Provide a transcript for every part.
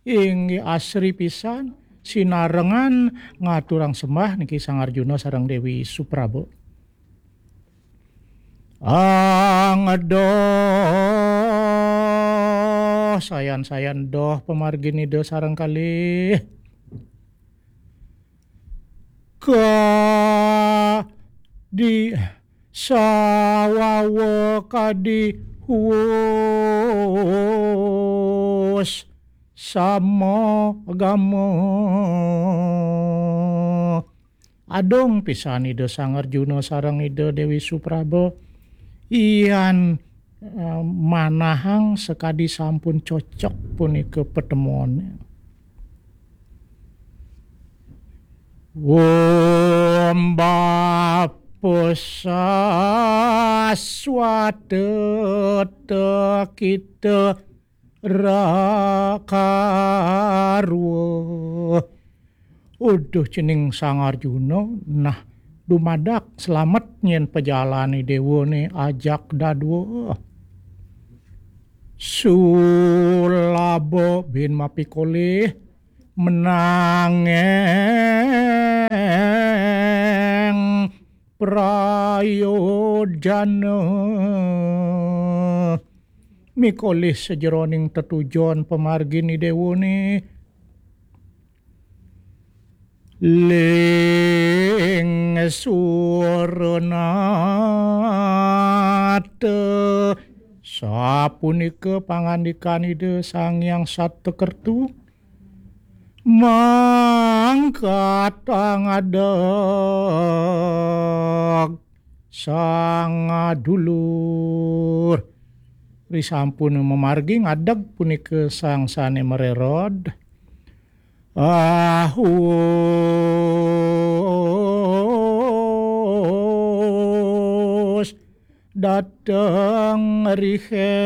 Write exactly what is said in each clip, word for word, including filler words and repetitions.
Inggih asri pisan, sinarengan ngaturang sembah niki Sang Arjuna sareng Dewi Supraba. Angdoh, sayan-sayan doh pamargin Ida sareng kalih. Kadi sawawa kadi huus sama gama. Adong pisan Ida Sang Arjuna sareng Ida Dewi Supraba. Yan, eh, manahang sakadi sampun cocok punika patemon. Om Bapa Saswata Tekita Rakarwa. Uduh cening Sang Arjuna, nah, dumadak slamet nyen pajalane dewane ajak dadua. Sulaba bin mapikolih menangeng prayojana. Mikolih sajeroning tetujon pamargin idewane. Ling suranata. Sapunika pangandikan Ida Sang Hyang Satakertu. Mangkat pangadeg sang dulur. Risampun mamargi ngadeg punika sang sane marerod. Ahus dateng riheng.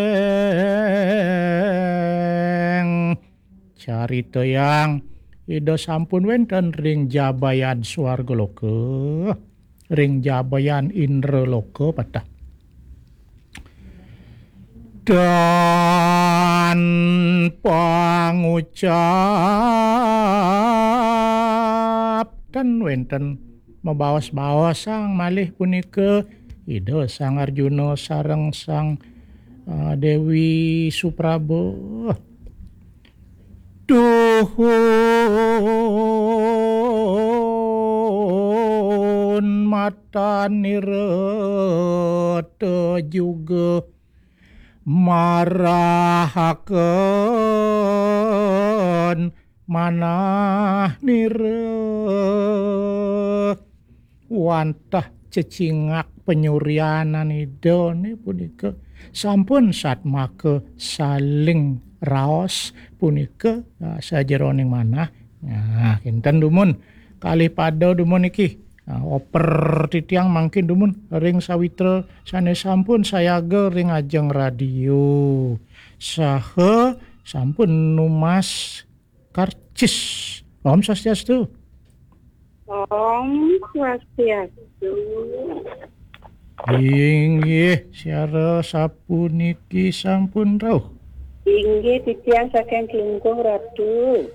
Carita yang Ida sampun wenten ring jabayan swarga loka, ring jabayan indra loka patah. Dan pangucap ten wenten mabaos-baosang malih punika Ida Sang Arjuna sareng Sang, eh, Dewi Supraba. Duhun matan nirata juga marahaken manah nira. Wantah cecingak penyurianan Ida ne punika sampun satmaka saling raos punika, ah, sajeroning manah. Nah, kinten dumun kalih pada dumun iki. Ah, oper titiang mangkin dumun ring sawitra sane sampun sayaga ring ajeng radio. Saha sampun numas karcis. Om Swastiastu. Om Swastiastu. Inggih, siara sapuniki sampun rauh. Inggih, titiang saking Klungkung, Ratu.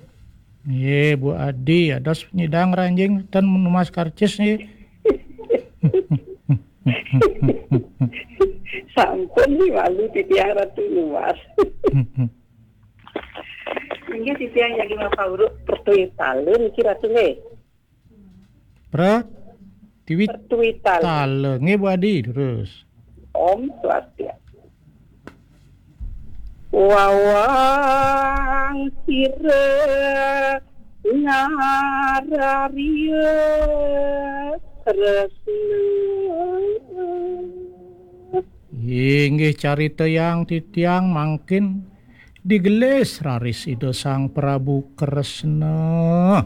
Nggih, Bu Adi, ados nyidang ranjing ten numas karcis nggih. Sampun nih malu titiang Ratu numas. Inggih titiang jagi mapauruk pertuitala niki Ratu nggih. Pra tiwit Pertuitala. Tala. Nggih, Bu Adi, terus. Om Swastiastu. Wawang sira ngararya tresna. Inggih carita yang titiang mangkin digelis raris Ida Sang Prabu Kresna.